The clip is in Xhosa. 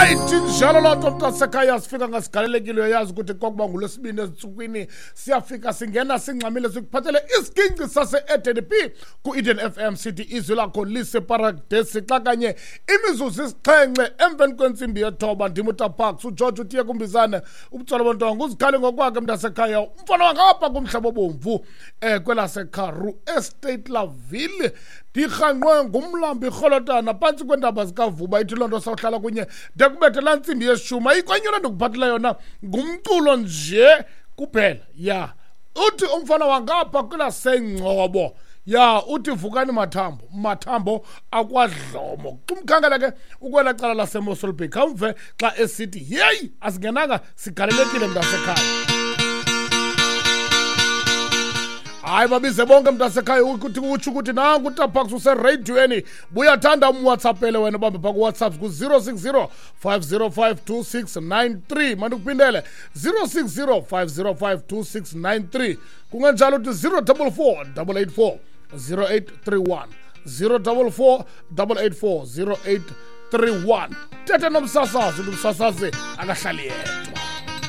Right, injalo loo nto, mntasekhaya. Sifika ngasigalelekile, uyayazi ukuthi kwakuba ngulwesibini ezintsukwini siyafika, singena singxamile, sikuphathele isiginci sase-Eden P ku-Eden FM, sithi izwi lakho liseparadesi. Xa kanye imizuzu 7 emveni kwentsimbi yethoba, ndim uTaparks uGeorge utiye kumbizane ubutsolo bontongo uzikhale ngokwakhe, mntasekhaya, umfana wangapha kumhlaba obomvu kwelaseKaru Estate Laville, ndirhanqwe ngumlambo irholotana phantsi kweentaba zikaVuba. Ithi loo nto sawuhlala kunye de kubethe laa ntsimbi yeshumi. Ayikho enye into ndikuphathela yona, ngumculo nje kuphela. Ya, uthi umfana wangapha kwelasengcobo, ya, uthi vukani mathambo, mathambo akwadlomo. Xumkhangela ke ukwela cala laseMossel Bay, khawumve xa esithi yeyi, asingenanga sigalelekile, mntasekhaya. Hayi, babize bonke, mntasekhaya, ukuthi utsho ukuthi nanku uTaparks usereyidiyweni. Buyathanda umwhatsappele wena, ubambe phaa kuWhatsApp ku-060 505 2693. Mandikuphindele, 060 505 2693. Kungenjalo uthi 044 884 0831, 044 884 0831. Thethe nomsasazi, umsasazi akahlali yedwa.